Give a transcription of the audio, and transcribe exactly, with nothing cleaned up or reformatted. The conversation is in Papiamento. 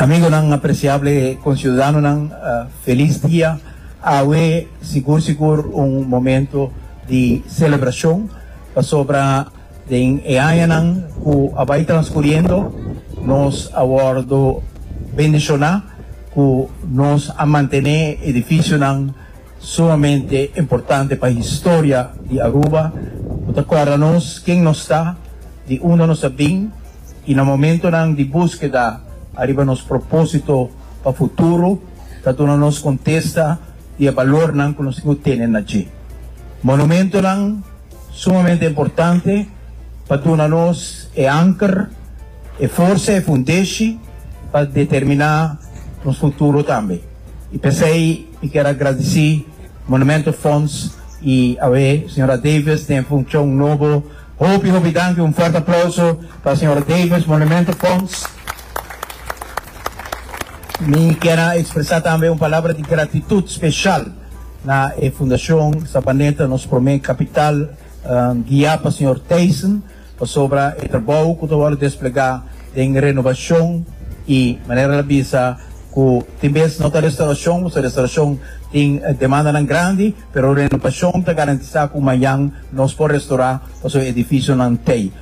Amigonan apreciable, conciudadanonan, uh, feliz dia. Awe, sigur sigur un momento di celebracion pasobra den e añanan cu a bay transcuriendo nos a wordo bendiciona cu nos a mantene edificionan sumamente importante pa historia di Aruba. Cu ta corda nos ken nos ta, di unda nos a bin y na momentonan di busqueda ariba nos proposito pa futuro, ta duna nos contesta y e balornan cu nos tin na dje. Monumentonan sumamente importante pa duna nos e anker, e forsa e fundeshi pa determina nos futuro tambe. Y p'esey, mi kier gradici Monumento Fonds y e señora Davis den funcion nobo. Hopi, hopi danki, un fuerte aplauso pa señora Davis, Monumento Fonds. Mi kier expresa tambe un palabra di gratitud special na eh, Fundacion Sabaneta, nos prome capital, um, guia pa señor Tyson, pasobra e trabou cu ta desplega den renovacion y manera el a bisa cu tin bes no ta restauracion, e restauracion tin eh, demandanan grandi, pero renovacion ta garantisa cu mañan nos por restaura e edificionan tey.